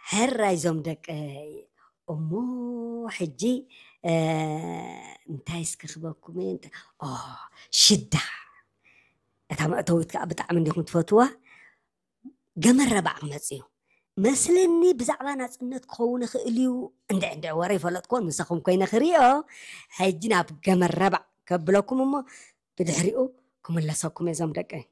ሕራይ ዞም ደቀይ። እሞ ሕጂ እንታይ እስኪ ክበኩም እየ? ሽዳ፣ እታ መእተዊት ከዓ ብጣዕሚ እንዲኹም ትፈትዋ። ገመድ ረባዕ ክመፅ እዩ መስለኒ። ብዛዕባ ናፅነት ክኸውን ይኽእል እዩ። እንድዕ እንድዕ ወረ ይፈለጥኩዎን ምሳኹም ኮይነ ክሪኦ። ሕጂ ናብ ገመድ ረባዕ ከብለኩም እሞ ብድሕሪኡ ክምለሰኩም እየ ዞም ደቀይ።